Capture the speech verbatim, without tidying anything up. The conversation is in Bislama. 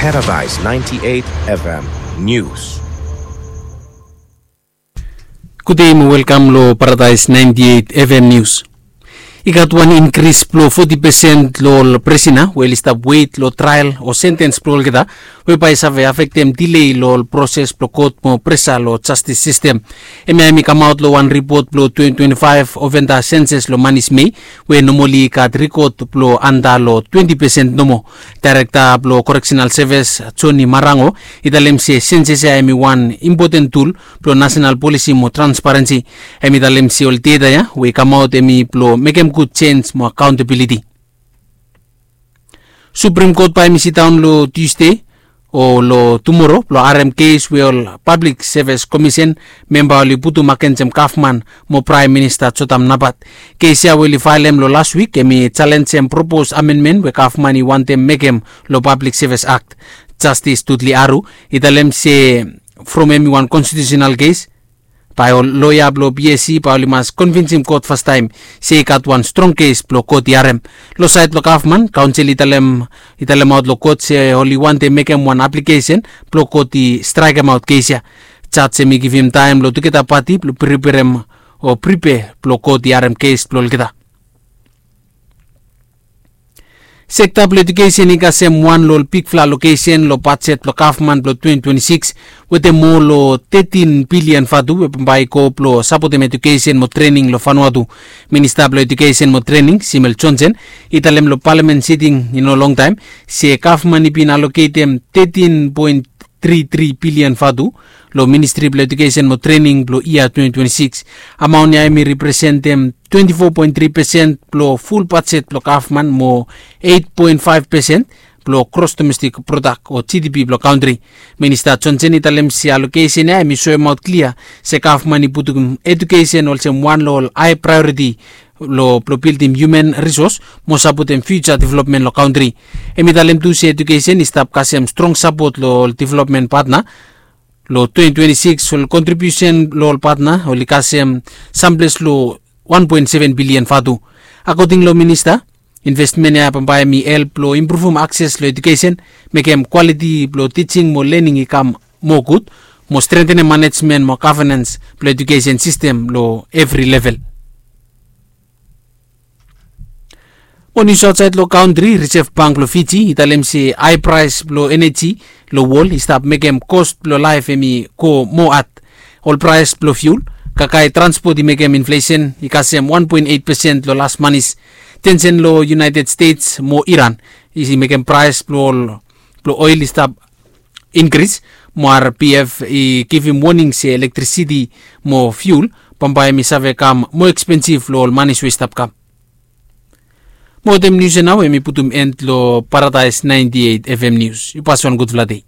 Paradise ninety-eight F M News. Gudei mo welkam lo Paradise ninety-eight F M News. I gat wan inkris blo foti pesen lo ol prisona we oli stap wet lo trael o sentens blo olgeta, we bae i save afektem delay lo ol proses blo kot mo presa lo jastis sistem. Hemia hemi kamaot lo wan ripot blo twenty twenty-five ovenda senses lo manis Mei, we nomali i gat rikod blo anda lo twenti pesen nomo. Daerekta blo Koreksenal Sevis, Joni Marango, i talem se senses ya hemi wan impoten tul blo nasenal polisi mo transparensi. Hemi talem se ol deta ya we i kamaot hemi blo mekem gud jenj mo akaontabiliti. Suprem Kot bae hemi sidaon lo Tusde o lo tumoro blo harem kes we ol Pablik Sevis Komisen memba oli putum agensem gavman mo Praem Minista Jotam Napat. Kes ya we oli faelem lo las wik hemi jalenjem propos amenmen we gavman i wantem mekem lo Pablik Sevis Akt. Jastis Dudley Aru i talem se from hemi wan konstitiusenal kes, bae ol loea blo P S C bae oli mas konvinsim kot fastaem se i gat wan strong kes blo kot i harem. Lo saed blo gavman, kaonsel i talem, i talemaot lo kot se oli wantem mekem wan aplikesen blo kot i straekemaot kes ya. Jaj hemi givim taem lo tugeta pati blo priperem o pripea blo kot i harem kes blo olgeta. Sekta blo edukesen i kasem wan lo ol bigfala alokesen lo bajet blo gavman blo twenty twenty-six, wetem moa lo tetin bilian vatu we bambae i go blo sapotem edukesen mo trening lo Vanuatu. Minista blo Edukesen mo Trening, Simel Johnson, i talem lo palamen siting i no longtaem se gavman i bin aloketem tetin poen tri tri bilian vatu lo Ministri blo Edukesen mo Trening blo yia twenty twenty-six. Amaon ya hemi representem twenti fo poen tri pesen blo ful bajet blo gavman mo eit poen faef pesen blo gros domestik prodak o G D P blo kantri. Minista Johnson i talem se alokesen ya hemi soemaot klia se gavman i putum edukesen olsem wan lo ol hae praeoriti lo blo bildim hiuman risos mo sapotem fiuja developmen lo kantri. Hemi talem tu se edukesen i stap kasem strong sapot lo ol developmen patna. Lo twenty twenty-six ol kontribiusen lo ol patna oli kasem samples lo wan poen seven bilian vatu. Akoding lo minista, investmen ya bambae hemi help lo impruvum akses lo edukesen, mekem kwaliti blo tijing mo lening i kam moa gud, mo strentenem manejmen mo gavenens blo edukesen sistem lo evri level. Mo nius aotsaed lo kantri, Reserve Bank blo Fiji i talem se hae praes blo eneji lo wol i stap mekem kos blo laef hemi go moa had. Ol praes blo fiul, kakae transpot i mekem inflesen i kasem wan poen eit pesen lo las manis. Tensen lo United States mo Iran i mekem praes blo ol blo oel i stap inkris, mo R B F i givim woning se elektrisiti mo fiul bambae hemi save kam moa ekspensif lo ol manis we i stap kam. Mo wetem nius ya nao hemi putum end lo Paradise ninety-eight F M News. Yu pas wan gudfala dei.